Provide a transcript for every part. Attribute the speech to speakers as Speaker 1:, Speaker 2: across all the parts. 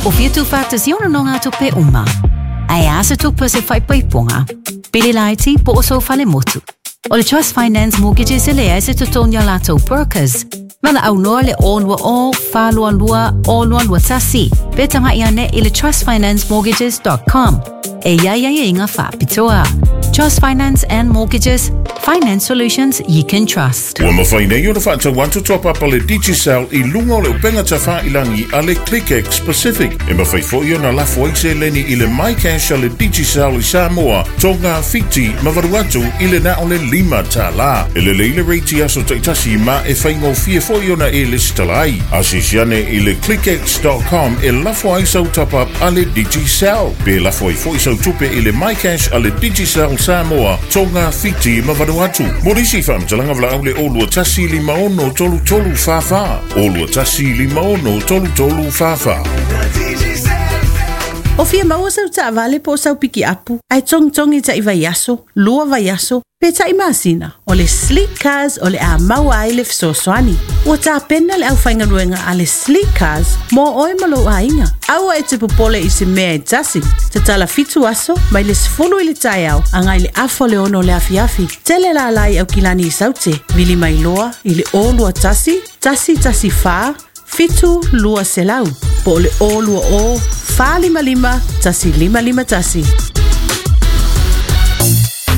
Speaker 1: O fia tuufaatasia o nonogatupe uma? Ae a se tupe o se faaipoipoga, pili laiti po o sou falemotu? O le Trust Finance Mortgages e leai se totogi a latou brokers. Valaau loa le 020 422 0221 pe tagai ane i le trustfinancemortgages.com. E i ai aiaiga faapitoa. Trust Finance and Mortgages, finance solutions you can trust.
Speaker 2: Ua mafai nei ona faatau atu top up a le Digicel i luga o le upega tafailangi a le ClickX Pacific. E mafai foi ona lafo ai seleni i le MyCash a le Digicel i Samoa, Tonga, Fiti ma Vanuatu i le na o le $5. E lelei le rate i aso taitasi ma e faigofie foi ona e lesitala ai. Asiasi ane i le clickx.com e lafo ai sau top up a le Digicel. Pe lafo ai foi sau tupe i le MyCash a le Digicel Samoa, Tonga, Fiti ma Vanuatu. Mo nisi faamatalaga valaau le 021 56 33 44. 021 56 33 44.
Speaker 3: O fia maua sau taavale po o sau pikiapu, ae togitogi tai vaiaso, 2 vaiaso, pe tai masina. O le Sleek Cars o le a maua ai le fesoasoani. Ua tapena le aufaigaluega a le Sleek Cars mo oe ma lou aiga. Aua e te popole i se mea e tasi. Tatala 7 aso mai le 10 i le taeao agai le 5:30 o le afiafi. Tele lala i Aukilani i Saute. Vili mai loa i le 021 114 7 200 po o le 020 455 1551.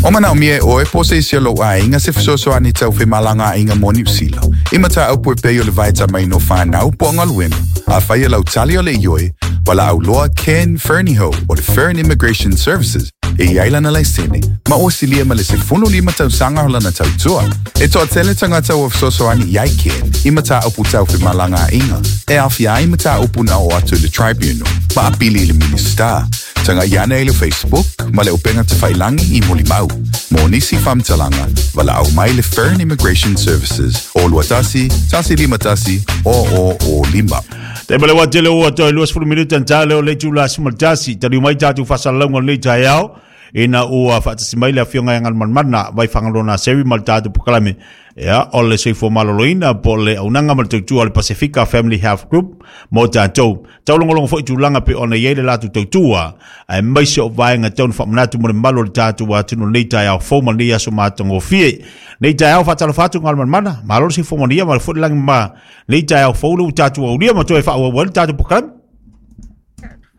Speaker 4: O manaomia e oe po o se isi o lou aiga se fesoasoani tau femalagaaiga mo Niu Sila. I mataupu e pei o le vaetamaina o fanau po o galuega. Afai e lau tali o le ioe, valaau loa Ken Fernihough o le Fern Immigration Services e i ai lana laisene, ma ua silia ma le 15 tausaga o lana tautua. E toatele tagata ua fesoasoani i ai Ken i mataupu tau femalagaaiga, e aofia ai mataupu na oo atu i le Tribunal, ma apili i le Minisita. Tagai ane i le Facebook ma le upega tafailangi i Molimau. Mo nisi faamatalaga, valaau mai le Fern Immigration Services o 21 151 0005.
Speaker 5: Te male wa tele ua toe 20 minute ta leo le itula 11 taliu mai tatou faasalalauga o lenei taeao ina ua faatasi mai le afioga ia Galumalemana Vaifagaloa Seri ma le tatou polokalame ia o le soifua maloloina po o le auaunaga ma le tautua a le Pasefika Family Health Group mo tatou. Taulogologo foi tulaga pei ona i ai le latou tautua aemaise o vaega tau na faamanatu mo le mamalu o le tatou atunuu i lenei taeao fou ma lenei aso matagofie. Nei taeao faatalofa atu Galumalemana, malo le soifua manuia ma le foi le lagi ma lenei taeao fou le ua tatou aulia ma toe faaauau ai le tatou polokalame.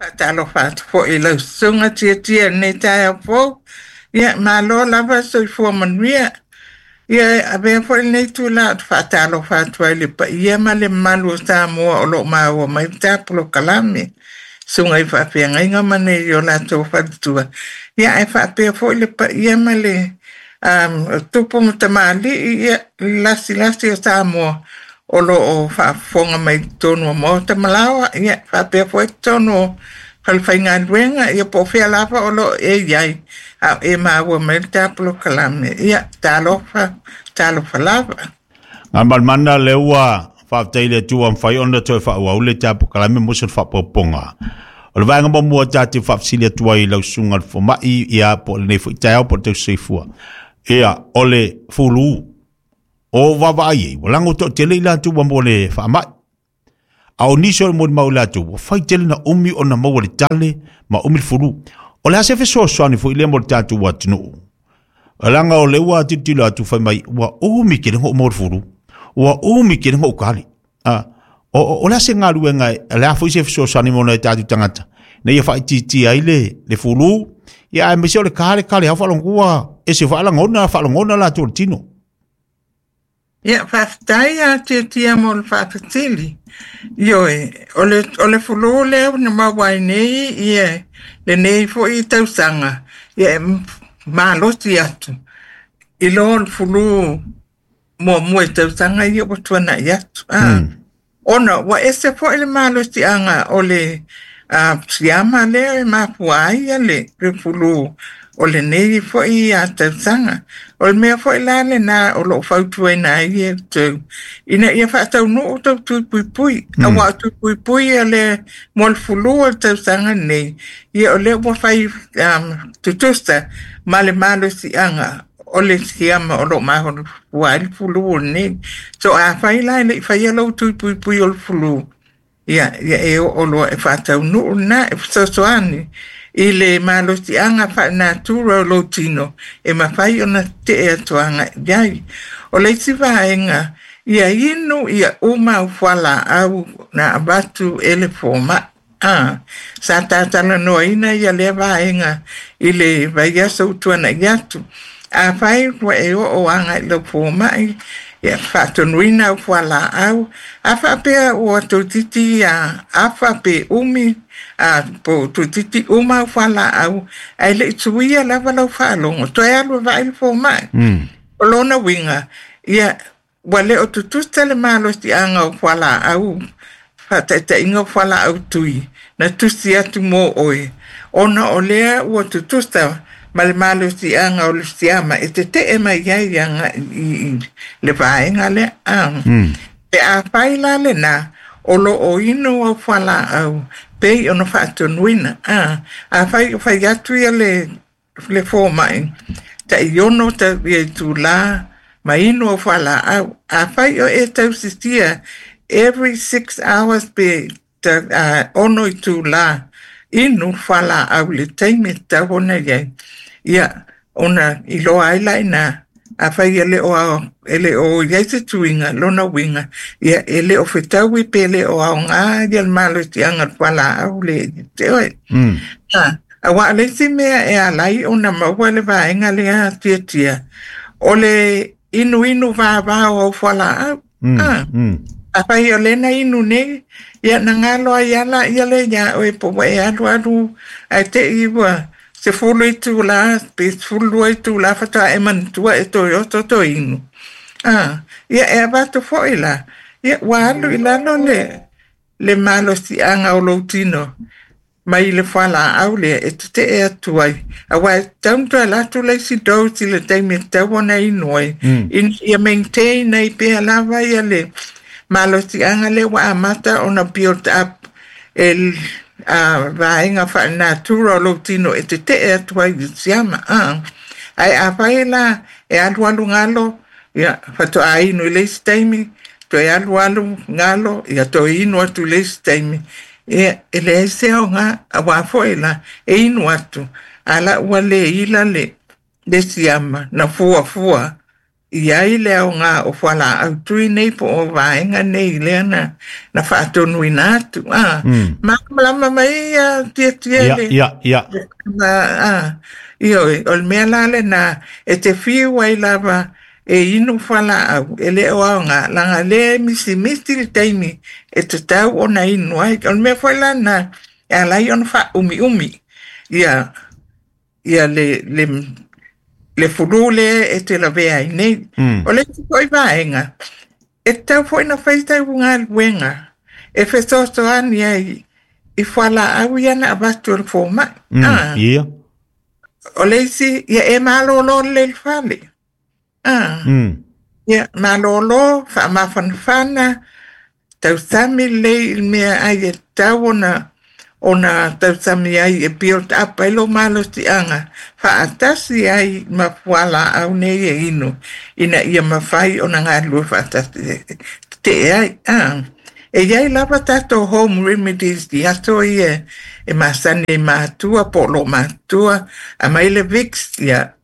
Speaker 6: Faatalofa atu foi i lau susuga Tiatia i lenei taeao fou. Ia, malo lava soifua manuia. Ia, e avea foi lenei itula ou te faatalofa atu ai i le paia ma le mamalu o Samoa o lo o maua mai le ta polokalame, susuga i faafeagaiga ma nei o latou faletua. Ia, ae faapea foi le paia ma le tupu ma tamalii, ia, le lasilasi o Samoa o lo o faafofoga mai i totonu o maota ma laoa, ia, faapea foi totonu o falefaigaluega, ia po o fea lava o lo o e i ai, a o e maua mai le ta polokalame. Ia, talofa, talofa lava.
Speaker 5: Galumalemana lea ua faafetai i le Atua ua mafai ona toe faaauau le ta polokalame mo se faaopoopoga. O le vaega muamua ta te faafesili atu ai i lau susuga i le fomai, ia po o lenei foi taeao po o le tausisoifua. Ia, o le fulu, o vaavaai ai, ua lago toatele i latou ua maua le faamai. A o nisi o le molimau i latou, ua fai tele na umi ona maua le tale ma umi le fulu. O le a se fesoasoani foi lea mo le tatou atunuu? Leaga o lea ua tilotilo atu fai mai, ua umi tele ona ou maua le fulu, ua umi tele ona ou tali. O le a se galuega, o le a foi se fesoasoani mo nai o tatou tagata, ina ia faaitiitia ai le fulu, ia aemaise o le kale kale lava faalogo ua ese foi lagona, faalogona latou o le tino.
Speaker 6: Ia, faafetai a Tiatia mo le faafesili. Ioe, o le fulu lea na maua ai nei ia lenei foi tausaga, ia e malosi atu i lo le fulu muamua i tausaga ia ua tuanai atu. Ona ua ese foi le malosiaga o le siama lea e mafua ai le fulu o lenei foi tausaga. O le mea foi la lena o lo o fautuaina ai e outou, ina ia faataunuu tou tui puipui. Aua o tui puipui o le mo le fulu o le tausaga nei, ia o lea ua fai tutusa ma le malosiaga o le siama o lo o mafua ai le fulu o lenei. So afai la e le i faia lou tui puipui o le fulu, Ia, ia e oo loa e faataunuu lena e fesoasoani i le malosiaga faalenatura o lou tino e mafai ona tetee atu agai i ai. O le isi vaega, ia inu ia uma au fualaau na avatu e le fomai. A, sa tatalanoaina ia lea vaega i le vaiaso ua tuanai atu. Afai ua e oo agai i lau fomai, ia faatonuina au fualaau, a faapea ua toeitiiti afa pe umi, a po o toeitiiti uma au fualaau, ae le i suia lava lau faalogo, toe alu e vaai le fomai. O lona uiga, ia ua le o tutusa le malosiaga o fualaau, faataitaiga o fualaau tui, na tusi atu mo oe, ona o lea ua tutusa ma le malosiaga o le siama e tetee mai ai agai i le vaega lea. Pe afai la lena, o lo o inu au fualaau pei ona faatonuina. Afai o fai atu ia le fomai, tai ono ia itulā ma inu au fualaau. Afai o e tausisia every 6 hours pe 6 itulā inu fualaau i le taimi e tatau ona i ai. Ia, ona iloa ai la ina, afai e le o i ai se tuiga, lona uiga, ia e le o fetaui pe le o aoga ia le malosiaga o le fualaau le te oe. Aua o le isi mea e ala ai ona maua le vaega lea tiatia, o le inuinu vavao au fualaau. Afai o lena inu nei, ia na galo ai ala ia le ia oe po ua e alu alu ae te i ua 10 itulā pe 12 itulā faatoa e manatua e toe oto to inu. Ia e avatu foi la, ia ua alu i lalo le malosiaga o lou tino mai le fualaau lea e tetee atu ai. Aua e tatau ona toe alu atu le isi dose i le taimi e tatau ona inu ai. Ina ia maintain ai pea lava ia le malosiaga lea ua amata ona build up e vaega faalenatura o lou tino e tetee atu ai i siama. Ae afai la e alu alu galo, ia faatoa inu i le isi taimi, toe alu alu galo, ia toe inu atu i le isi taimi. Ia, e leai se aoga, aua foi la, e inu atu, a la ua le ila le siama, na fuafua i ai le aoga o fualaau tui nei po o vaega nei lea na faatonuina atu. Malamalama mai ia tiatia le...
Speaker 5: Ia.
Speaker 6: Ioe, o le mea la lena, e te fiu ai lava e inu fualaau, e le o aoga, laga lea e misimisi le taimi e tatau ona inu ai. O le mea foi la na, e ala ai ona faaumiumi ia le fulu lea e te lavea ai nei. O le isi foi vaega, e tatau foi na fai sau galuega e fesoasoani ai i fualaau ia na avatu e le fomai.
Speaker 5: Ia.
Speaker 6: O le isi, ia e malolo lelei le fale. Ia, malolo, faamafanafana, tausami lelei i le mea ai e tatau ona tausami ai e build up ai lou malosiaga, faatasi ai ma fualaau nei e inu, ina ia mafai ona galulue faatasi tetee ai. E iai lava tatou home remedies i aso ia e masani ai matua po o lo matua, aumai le Vicks, ia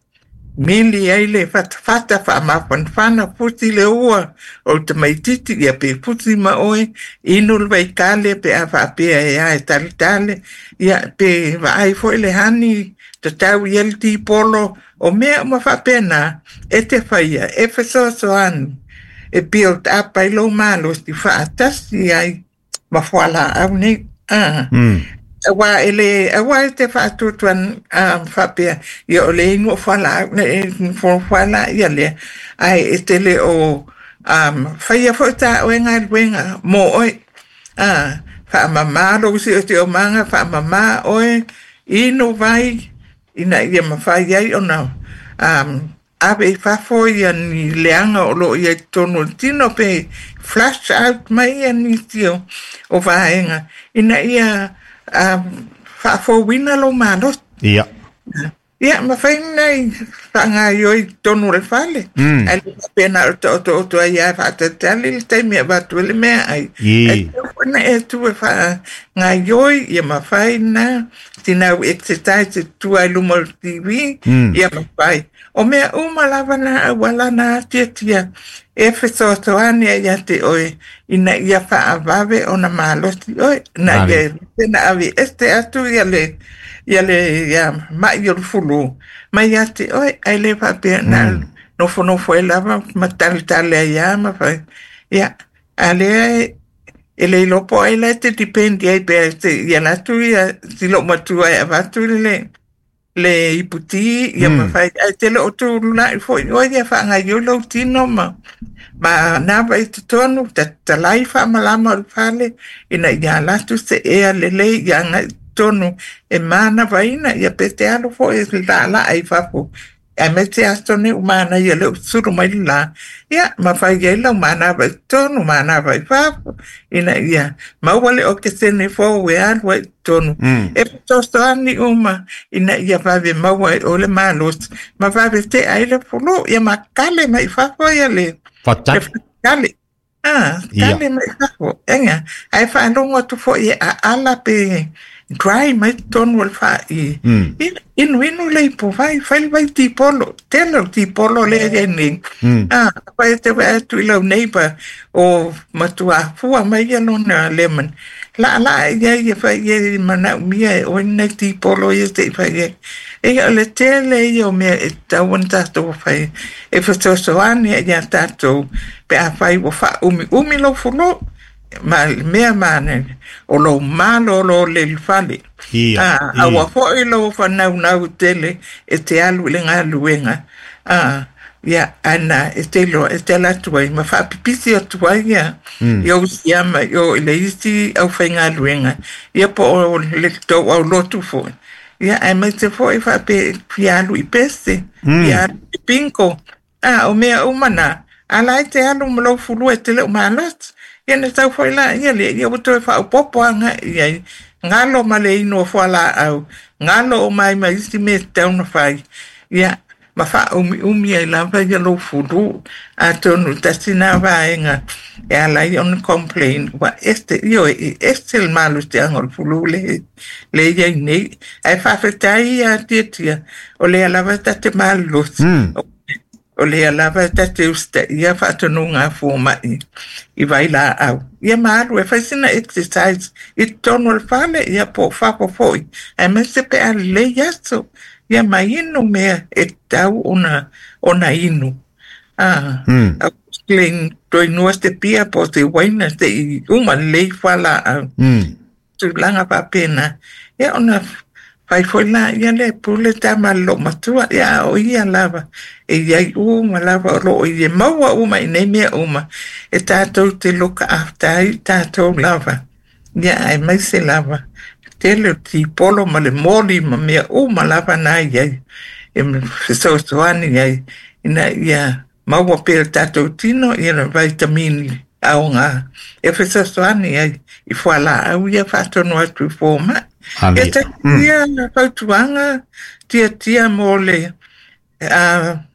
Speaker 6: mili ai le fatafata faamafanafana, fusi le ua o le tamaititi, ia pe fusi ma oe, inu le vaitale pe a faapea e a e taletale, ia pe vaai foi le hani, tatau ia le tipolo, o mea uma faapena, e te faia, e fesoasoani, e build up ai lou malosi faatasi ai ma fualaau nei. Aua e le, aua e te faatuatuan faapea, ia o le inu o fualaau, le fuala ia lea, ae e te le o faia foi ta oe galuega mo oe. Faamamā lou siosiomaga, faamamā oe, inu vai, ina ia mafai ai ona ave i fafo ia ni leaga o loo i ai totonu o le tino pe flush out mai ia nisi o vaega, ina ia faafouina lou malosi.
Speaker 5: Ia.
Speaker 6: Ia, mafai ona faagaoioi i totonu o le fale, ae le faapea na o le taotooto ai lava e faatalitali le taimi e avatu ai le meaai. Ae tatau foi ona e tu e faagaoioi, ia mafai na tinau exercise e tua i luma o le TV, ia mafai. O mea uma lava na auala na atiatia e fesoasoani ai ia te oe ina ia faavave ona malosi oe, ina ia na aveese atu ia le ia le ia ma'i o le fulu mai ia te oe, ae le faapea na nofonofo ai lava ma taletale ai lava ma fai. Ia, a lea e le iloa po o ai la e te depend i ai pe te ia alu atu ia si loomatua e avatu le le iputi ia ma fai ae te le o tulai foi oe ia faagaoioi lou tino ma ma manava i totonu tatalai faamalama o le fale ina ia ala atu se ea lelei ia agai i totonu e manavaina ia pe te alu foi e laalaa i fafo aemaise aso nei ua manaia lea ua sulu mai le la ia ma fai ai lau manava i totonu manava i fafo ina ia maua le okesene fou e alu ai i totonu e fesoasoani uma ina ia vave maua ai oe le malosi ma vave tea ai le fulu ia ma kale mai i fafo ia le
Speaker 5: Faatali.
Speaker 6: le Ah,
Speaker 5: Ia.
Speaker 6: kale mai fafo. Ega, ae faalogo atu foi e aala pe dry mai totonu o le faai. Inuinu le ipuvai, fai le vai tipolo. Tele o tipolo lea e i ai nei. Ah, afai e te vaai atu i lau neighbor o matua fua mai ia lona lemon. Laalaa i ai e fai i ai manaomia e oe nai tipolo ia se i fai ai. Ia o le tele ia o mea e tatau ona tatou fai e fesoasoani ai ia tatou pe afai ua faaumiumi lou fulu ma le mea manaia o lou malolo le i le fale.
Speaker 5: Ia.
Speaker 6: Ah, aua foi lou fanaunau tele e te alu i le galuega. Ah, ia ana e te iloa e te ala atu ai ma faapipisi atu ai ia i ou siama i o i le isi aufaigaluega ia po o le tou aulotu foi. Ia aemaise foi faapea e fia alu i pese, fia alu i bingo. Ah, o mea uma na, a la e te alu ma lou fulu e te le o malosi. Ia na sau foi laia lea, ia ua toe faaopoopo agai i ai. Galo ma le inu o fualaau, galo uma ai ma isi mea e tatau ona fai. Ia, ma faaumiumi ai lava ia lou fulu. Atonu tasi na vaega e ala ai ona complain, ua ese, ioe, e ese le malosiaga o le fulu le, le i ai nei. Ae faafetai ia Tiatia, o lea lava e ta te malolosi. O lea lava e ta te usitaia faatonuga a fomai i vailaau. Ia ma alu e fai sina exercise i totonu o le fale, ia po o fafo foi. Aemaise pe a lelei aso, ia ma inu mea e tatau ona, ona inu. Ah, mm. Toe inua se pia po o se uaina se i uma lelei fualaau. Tulaga faapena. Ia ona fai foi laia lea e pule tama a le loomatua, ia a o ia lava e i ai uma lava o loo i e maua uma i nei mea uma e tatou te look after ai i tatou lava. Ia aemaise lava tele o tipolo ma le moli ma mea uma lava na i ai e fesoasoani ai ina ia maua pea e le tatou tino ia le vaitamini aoga e fesoasoani ai i fualaau ia faatonu atu i fomai. Ia talia fautuaga tiatia mo le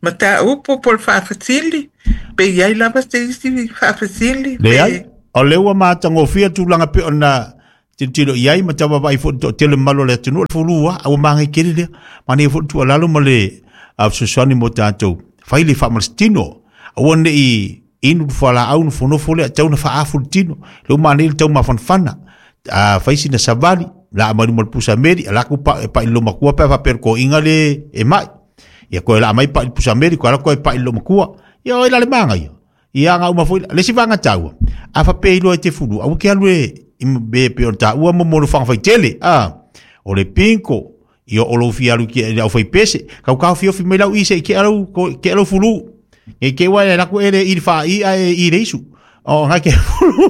Speaker 6: mataupu po o le faafesili, pe i ai lava se isi faafesili?
Speaker 5: Leai, o lea ua matagofie tulaga pei ona tilotilo i ai ma tau vaavaai foi i le toatele mamalu o le atunuu, o le fulu lava, a ua magai tele lea. Manaia foi le tuualalo ma le fesoasoani mo tatou, fai le faamalositino, aua ne i inu le fualaau nofonofo lea, tau na faaafu le tino, lea ua manaia le taumafanafana, a fai sina savali, laa mai luma o le pusa meli, ala atu pa, pai i le loomatua pe a faapea o le toeaina le e mai. Ia toe laa mai pai i le pusa meli, toe ala toe pai i le loomatua. Ia o ai la le manaia. Ia aga uma foi le isi vaega taua, a faapea e iloa e te fulu, aua te alu e i mea e pei ona taua mo mo le faitele, a o le bingo, ia o lou fia alu i le aufaipese, tau taofiofi mai lau i se i tea lau, tea lau fulu. Nei te ua e alu atu e le i le faai ae i le isu. O nga ke fulu.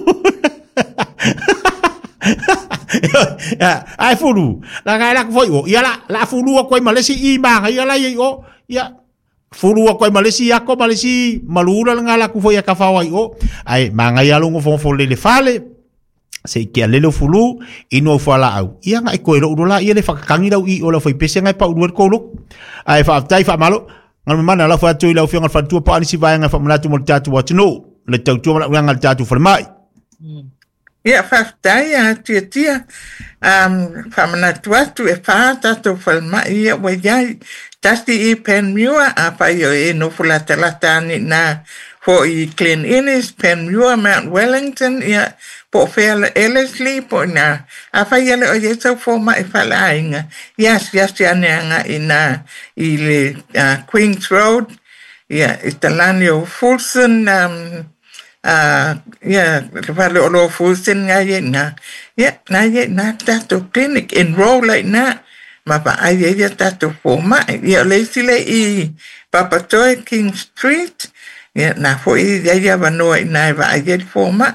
Speaker 5: Ai fulu. La ngai la foi o. Ia la la fulu ko ai ma le isi i manaia la i o. Ia fulu atu ai ma le isi ako ma le isi malula le ngala atu foi a ka fao ai o. Ai manaia lo ngofo le le fale. Se i ke alele o fulu inu au fualaau ia nga i koe lou la ia le whakakangi lau i o lau whaipese ngai pa ulu ko loko. Ai whaaftai whaamalo ngā mana la whaatu i lau fionga whantua pa anisi vaenga whamanatu mo le tātou atunu le tautua mana uanga le tātou whalemai.
Speaker 6: Ia whaftai a tia tia whamanatu atu e wha tātou whalemai ia wa iai tasi i Panmure a whai o e nofo lata lata ani nā fo i Glen Innes, Panmure, Mount Wellington, ia po whea Ellerslie, po nā. A whai ale o iesau fō mai whalainga. Ia siasi ane anga i nā i le Queen's Road, ia i talani o Fulson, ia le whale o lo Fulson ngā ia nā. Ia, nā ia nā tātou clinic, enroll ai nā. Ma pa ai ia tātou fō mai. Ia o leisi le i Papatoe, King Street, ia nā fo i ia ia wanoa i nā e wa ai ia fō mai.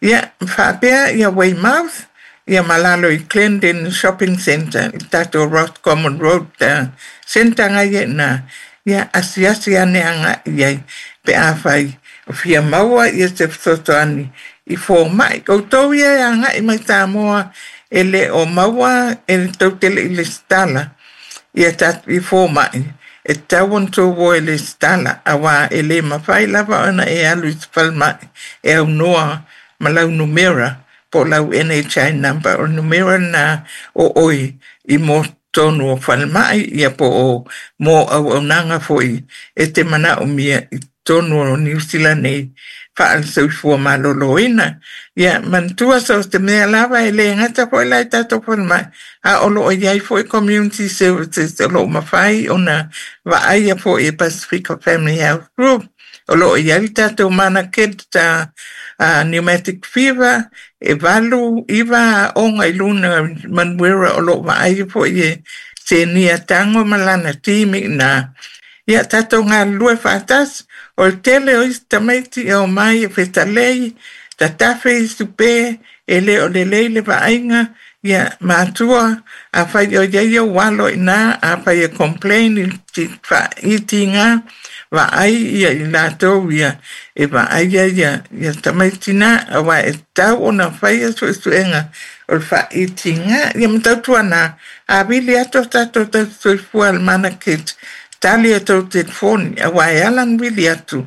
Speaker 6: Ia, whaapea ia Weymouth, ia malalo i Glendon Shopping Centre, i tātou Roscommon Road Centre ngā ia nā. Ia, asiasi ane anga ia pe a whai. O whia maua ia te whatoto ani i fō mai. Koutou ia e anga i mai tā moa e le o maua e le tautele i le stala. Ia tātou i fō mai. E tauan tō wo e le stala. Awa e le mawhai lava ona e alu i te whalmai. E au noa malau numera po lau NHI number o numera nā o oi i mō tonu o whalmai ia po o mō au au nanga foi e te mana o mia i tonu o New Zealand nei whaasoifua maloloina. Ia mantua so te mea lava e le ngata foi lai tātou whalmai. A olo o iai foi community services o lo mawhai ona vaaia foi e Pacifica Family Health Group. O lo iai tātou mana kid ta pneumatic fever e valu iwa onga i luna manuera o lo vaaia foi e se nia tango malana timi nā. Ia tātou ngā lue whaatas, o le tele o isi tamaiti e o mai e whetalei, tatafe i supe, e le o le leile vaainga, ia mātua, a whai o ia walo i nā, a whai e complain i ti ngā, vaai ia i lātou ia, e vaai ia ia tamaiti nā, a wā e tau ona whai a suesuenga, o le whaiti ngā, ia matautua nā, a vili ato tātou tau soifua le mana kit, tali e tau telefoni, a wā e alan vili atu,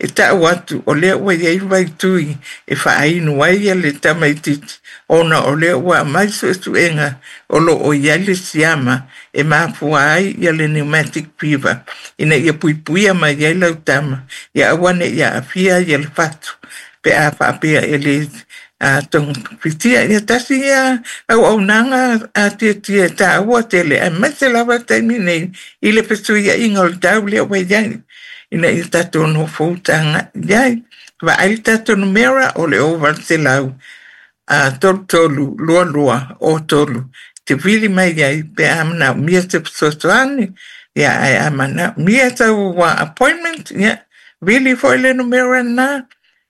Speaker 6: e tau atu, o lea ua iai vai tui, e whaainu ai ia le tamaititi, ona o lea ua mai suesuenga, o lo o iai le siama, e mafua ai ia le pneumatic fever, ina ia puipuia mai iai lau tama, ia awane ia awhia ia le whatu, pe a whaapea e le tonga fitia ia tasi ia au au nanga a tia tia tā ua tele a mese lava taimi nei i le fesuia inga o le tau lea wai iai ina ia tātou no fōutanga iai wa ai tātou numera o le o lau a tolu tolu lua lua o tolu te vili mai iai pe a mana mia te fesoasoani ia ai a mana mia tau wa appointment ia vili foi le numera nā.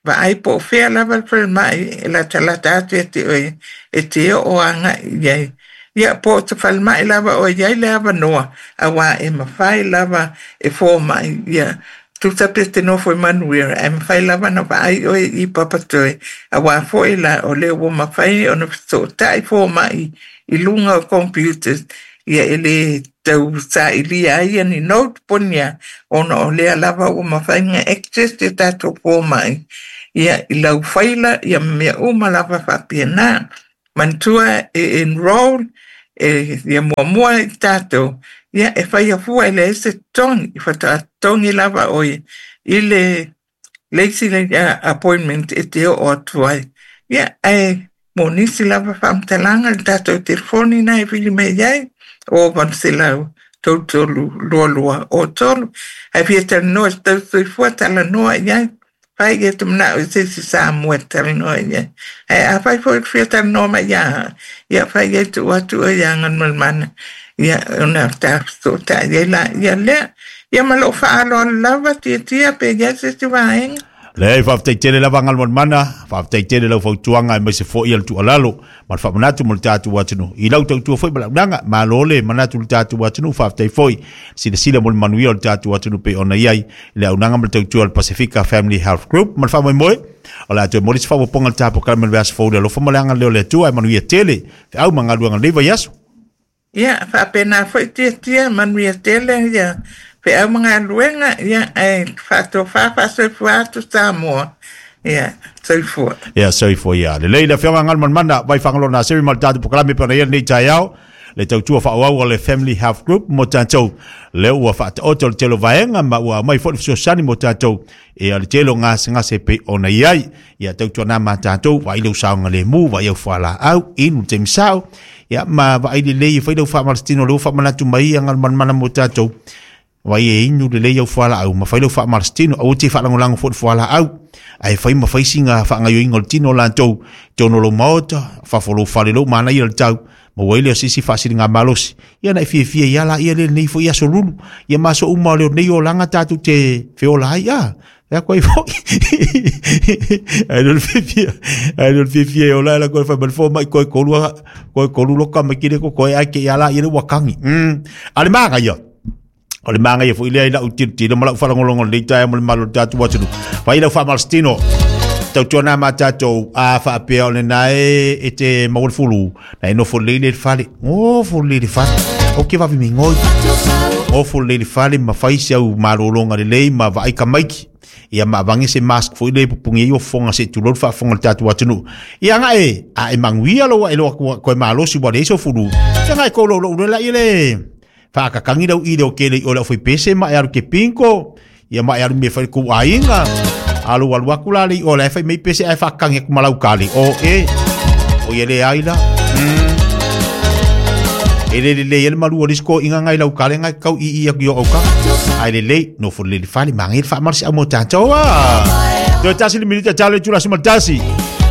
Speaker 6: Va ai po whea lava le whalemai e lata lata atu e te oe e te o anga iai. Ia po te whalemai lava o iai le awa noa a wā e mawhai lava e fō mai ia. Tuta pe te nofo e manuera e mawhai lava na vaai oe i papatoe a wā fo e la o leo o mawhai o na tai fō mai i lunga o computers ia e le tau sa ilia ai ni note ponia ona o lea lava o mawhai nga access te tātou fō mai. Ia i lau whaila, ia mea uma lava whapia nā. Mantua e enroll, e ia mua mua i tātou. Ia e whai afua e le ese tongi, i whata tongi lava oi, i le leisi le appointment e te o atu ai. Ia e mō nisi lava whamtalanga le tātou telefoni nā e whili mei ai, o 800 tolu tolu lua lua o tolu. Hai fia talanoa se tau soifua talanoa i ai. Whai ia te mana o se si sa mua talanoa i ai. Hai a whai fo fia talanoa mai ia. Ia whai ia tu atu o ia ngan malmana. Ia ona tā so tā ia la ia lea. Ia malo whaalo lava tia tia pe ia se si waenga.
Speaker 5: Leai, faafetai tele lava Galumalemana, faafetai tele lau fautuaga aemaise foi o le tuualalo ma le faamanatu mo le tatou atunuu. I lau tautua foi ma le auaunaga, malo le manatu i le tatou atunuu, faafetai foi silasila mo le manuia o le tatou atunuu pei ona i ai le auaunaga ma le tautua a le Pasefika Family Health Group. Ma le faamoemoe, o le a toe momoli se faaopoopoga i le tapokalame o le vaiaso fou i le alofa ma le agalelei o le Atua, ae manuia tele feau ma galuega i lenei vaiaso.
Speaker 6: Ia, faapena foi Tiatia, manuia tele ia feau ma galuega, ia, ae faatofa faasoifua atu Samoa. Ia, soifua.
Speaker 5: Ia, soifua ia. Lelei le Afioga Galumalemana Vai Fagaloa Naseri ma le tatou polokalame pei ona i ai lenei taeao, le tautua faaauau a le Family Health Group mo tatou. Lea ua faataoto le tele o vaega ma ua aumai foi le fesoasoani mo tatou e o le tele o gasegase pei ona i ai. Ia tautuana ma tatou, vaai lou saogalemu, vaai au fualaau, inu le taimi sao, ia ma vaai lelei e fai lau faamalositino lea ua faamanatu mai ia Galumalemana mo tatou. Vaai e inu lelei au fualaau ma fai lau faamalositino, aua te faalagolago foi i le fualaau, ae fai ma fai sina faagaoioiga o le tino o latou i totonu o lou maota, fafo o lou fale, lou manaia le tau, maua ai lea o se isi faasiligamalosi. Ia na e fiafia ai lava laia lenei foi aso lulu, ia ma aso uma o lenei olaga tatou te feola ai, a. E ako ai foi. Ai le fiafia, ai le fiafia e ola la koe fai mai fo mai koe kolu koe kolu loka mai kile ko koe ai ke ia la ia le ua kangi. A le magaia. O le magaia foi lea i lau tilotilo ma lau faalogologo i lenei taeao ma le mamalu o le tatou atunuu. Fai lau faamalositino. Tautuana ma tatou a faapea o lena e, e te maua le fulu, na e nofo lelei le fale. Nofo lelei le fale. O ke vave migoi. Nofo lelei le fale ma fai si au malologa lelei ma vaai tamaiti. Ia ma avange se mask foi le pupungi ai o fofoga se tulou le faafofoga a le tatou atunuu. Ia nga e, a e manuia lou ae loa koe malosi ua leai sou fulu. Ia nga e kou lou lou le la ia le Whaakakangi lau i leo kele i ole au pese ma e alu ke pinko, ia ma e alu me whai kou aiga. Alu alu aku la le i ole whai mei pese ai whakakangi aku malau kale. O e, o ia le ai la. E le le le le malu o lisko inga ngai lau kale ngai kau i i aku i o auka. Ai le le, no fo le le whale, ma ngai le wha marsi au mo tātou a. Toe tasi le minuta talo i tula suma tasi.